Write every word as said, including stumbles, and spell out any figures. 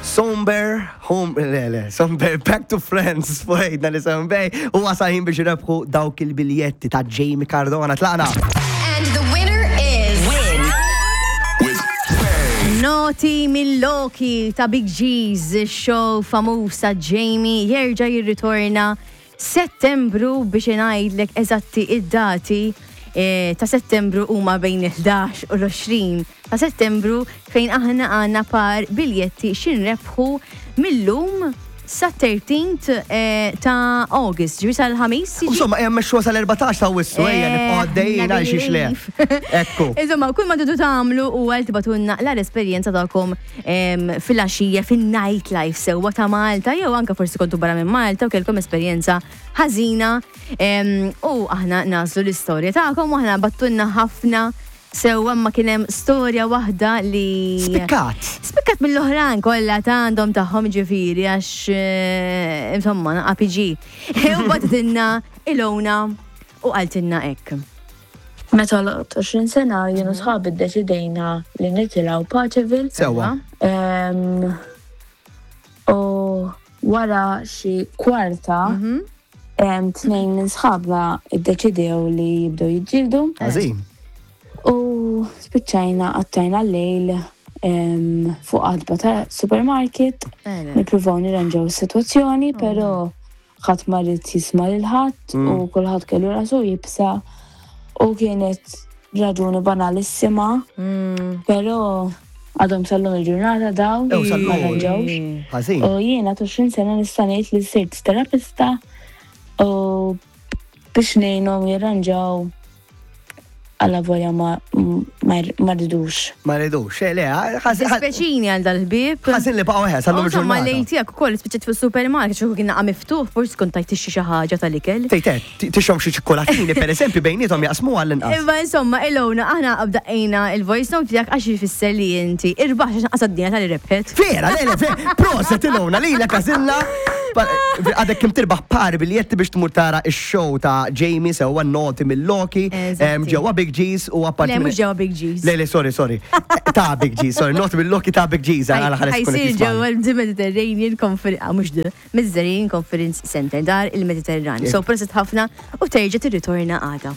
Somber, home, le, le, Somber, Back to Friends, fuqejna li Bay, u wasal ħin biex rebħu dawk il-biljetti ta' Jamie Cardona. Tlaqna! And the winner is. Win. With Noti mill-Loki ta' Big G's, show famuż ta' Jamie, jerġa' jirritorna Settembru. Biex ngħidlek eżatti id-dati eh, ta' Settembru huma bejn il-ħdax u l-għoxrin ta' Settembru, fejn aħna għandna par biljetti x'inrebħu mill-lum sa thirteenth eh, ta' August, ġifieri sal-Ħamis. Jiġi? Insomma, jem meċxu sal-erbatax ta' Awwissu, ejja, Eh, nibqgħu għaddejjin għal xiex le. Ekku. Insomma, kull ma tridu tagħmlu u għal tibagħtulna l-esperjenza tagħkom em, fil-għaxija, fin-nightlife sewwa ta' Malta, jew anka forsi kontu barra minn Malta u kellkom esperjenza ħażina em, u aħna nagħżlu l-istorja tagħkom. U aħna bgħattulna ħafna sewwa, ma kien hemm storja waħda li Spikkat. Spikkat mill-oħrajn kollha ta' għandhom tagħhom, ġifieri għax eh, insomma A P G. U bagħtitilna Ilona u qaltilna hekk. Meta għalaqt għoxrin sena, jien u sħabi ddeċidejna li nitilgħu Paceville. Sewwa. Em, U wara xi kwarta, em, tnejn minn sħabna iddeċidew li jibdew jiġġieldu. Għażin. U spiċċajna qattajna l-lejl em, fuq għatba ta' supermarket. Nippruvaw nirranġaw is-sitwazzjoni, però ħadd ma ried jisma' lil ħadd u kulħadd kellu rasu iebsa u kienet raġuni banalissima, però għadhom sal-lum il-ġurnata dawn Ew, sal-lum. ma rranġawx. Ħażin. U jiena għoxrin sena nista' ngħid li sirt terapista u biex ngħinhom jirranġaw, għalla volja ma ma ma ridux. Ma ridux, eh, le, ħażin. Dispjaċini għal dal-ħbieb. Ħażin li baqgħu ħes sal-lum Insomma, il-ġurnata. lejl tiegħek ukoll spiċċat fis-supermarket, xi kien naqa' miftuħ, forsi kont tajt tixtri xi ħaġa tal-ikel. Tejtet, tixom xi ċikkolatini, per eżempju, bejnietom jaqsmu għall-inqas. Imma insomma, Ilona, aħna daqqejna il-voice note tiegħek għax jfisser li inti irbaħ, għax naqas d-dinja tal rebħet. Vera, le, le, vera, proset Ilona, li l. Għadek kim tirbaħ par biljetti biex tmur tara il-show ta' Jamie sewwa, Noti mill-Loki Eżatti. em, ġewwa Big G's u apparti Le, minn- mhux ġewwa Big G's. Le, le, sorry, sorry. Ta' Big G's, sorry, Noti mill-Loki ta' Big G's, għala ħares kun Ħa jsir qed ġewwa the Mediterranean Conference, ah, mhux the Mediterranean Conference Center, dar il-Mediterran. So proset ħafna u terġa' tirritorna għada.